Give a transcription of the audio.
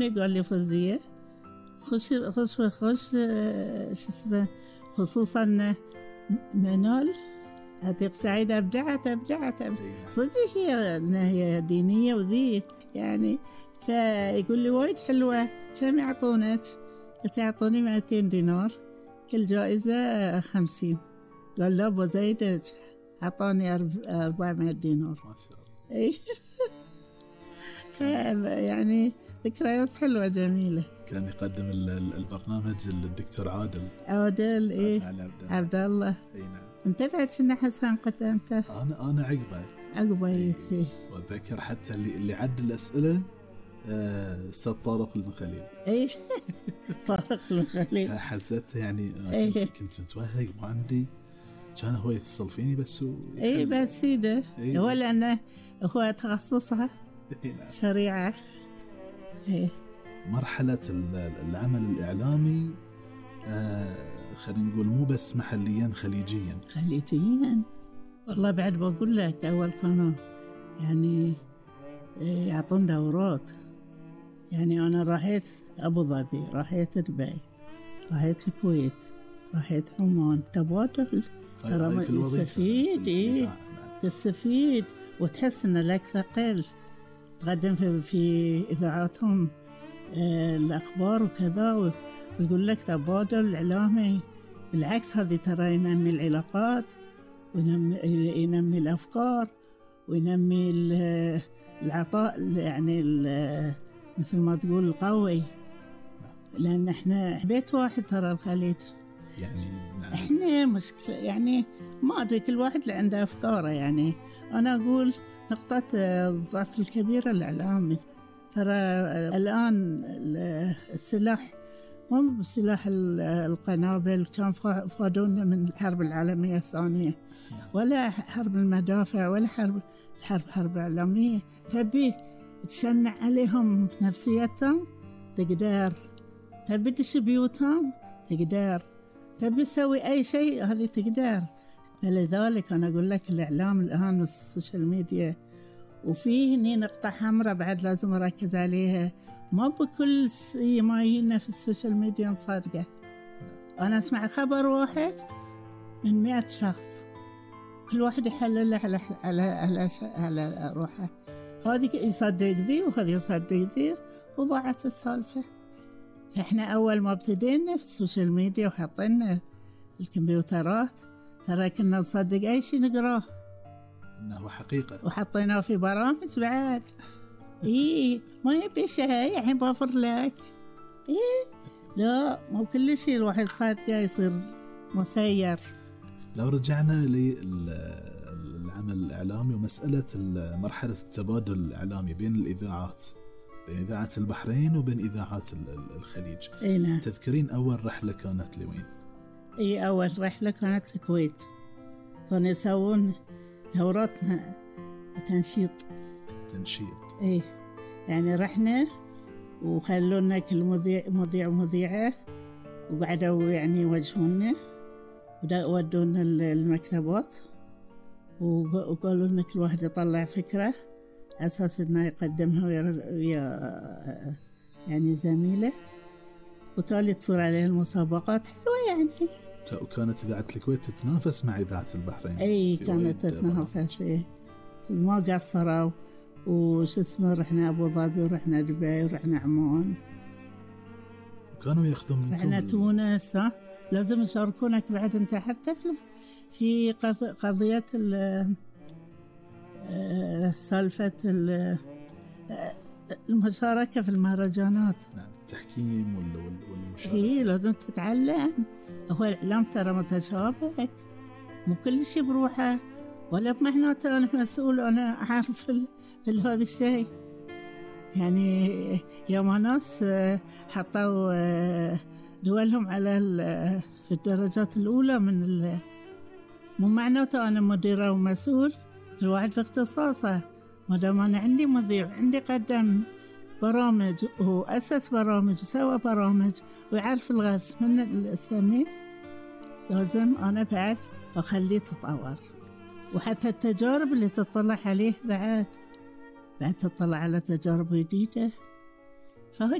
قال لي فوزية خش شو اسمه، خصوصا منال عتيق سعيد أبدعت صدق هي دينية وذي يعني. فيقول لي وايد حلوة، كم يعطونك؟ قلت يعطوني 200 دينار، كل جائزة 50. قال لا بزيدك، عطاني 400 دينار ما شاء الله. يعني ذكريات حلوة جميلة. كان يقدم البرنامج الدكتور عادل عبد الله. اي نعم. انت بعد كنا حسن قدمته؟ انا عقبه يتي. واتذكر حتى اللي عد الاسئله استاذ طارق المخليل. اي طارق المخليل. حسيت يعني كنت متوهق ما عندي، كان هو يتصل فيني بس بس سيده هو لانه هو تخصصها شريعه. مرحله العمل الاعلامي خلينا نقول مو بس محليا، خليجيا. والله بعد بقول لك اول كانوا يعني يعطون دورات. يعني انا راحت ابو ظبي، راحت دبي، راحت الكويت، راحت عمان، تبادل. ترى تستفيد تستفيد وتحس ان لك ثقل. تقدم في اذاعاتهم الاخبار وكذا، ويقول لك تبادل اعلامي. بالعكس هذه ترى ينمي العلاقات وينمي الافكار وينمي العطاء، يعني مثل ما تقول القوي. لان احنا بيت واحد ترى الخليج يعني. نعم. احنا مشكلة يعني ما ادري، كل واحد اللي عنده افكاره. يعني انا اقول نقطة الضعف الكبيرة الاعلام. ترى الان السلاح مو بسلاح القنابل، كان فادونا من الحرب العالمية الثانية، ولا حرب المدافع ولا حرب إعلامية. تبي تشنع عليهم نفسيتهم تقدر، تبي تدش بيوتهم تقدر، تبي تسوي أي شيء هذه تقدر. فلذلك أنا أقول لك الإعلام الآن والسوشيال ميديا، وفيه هني نقطة حمراء بعد لازم أركز عليها. ما بكل ما يجينا في السوشيال ميديا نصدقه. أنا أسمع خبر واحد من 100 شخص، كل واحد يحلله على روحه. هذه يصدق ذي وهذه يصدق ذي، وضاعت السالفة. فإحنا أول ما ابتدينا في السوشيال ميديا وحطينا الكمبيوترات، ترى كنا نصدق أي شيء نقراه إنه حقيقة، وحطيناه في برامج بعد. ما يبي شيء الحين بوفر لك. لا مو كل شيء الواحد صادقه يصير مسير. لو رجعنا للعمل الإعلامي ومسألة مرحلة التبادل الإعلامي بين الإذاعات، بين إذاعة البحرين وبين إذاعات الخليج. نعم. تذكرين أول رحلة كانت لوين؟ أول رحلة كانت الكويت، كانوا يسوون دوراتنا تنشيط. يعني رحنا وخلونا كل مذيع ومذيعة، وقعدوا يعني يوجهونا ودونا المكتبات، وقالوا لنا كل واحد يطلع فكرة أساس إنه يقدمها ويا يعني زميله، وتالي تصير عليه المسابقات حلوة يعني. وكانت إذاعة الكويت تتنافس مع إذاعة البحرين. كانت تتنافس. ما قصروا. وش اسمه، رحنا أبو ظبي ورحنا دبي ورحنا عمان، وكانوا ياخذون منكم. رحنا تونس. لازم يشاركونك بعد انت حتى في قضية سالفة المشاركة في المهرجانات. نعم. التحكيم والمشاركة. لازم تتعلم. هو الإعلام ترى متشابك، مو كل شيء بروحه، ولا بمعناته أنا مسؤول أنا أعرف في هذا الشيء. يعني يوم ناس حطوا دولهم على في الدرجات الأولى من مو معناته أنا مديرة ومسؤول، كل واحد في اختصاصه. ما دام أنا عندي مذيع، عندي قدم برامج وأسس برامج وسوى برامج ويعرف الغث من السمين، لازم أنا بعد أخليه تطور. وحتى التجارب اللي تطلع عليه بعد تطلع على تجارب جديدة. فهو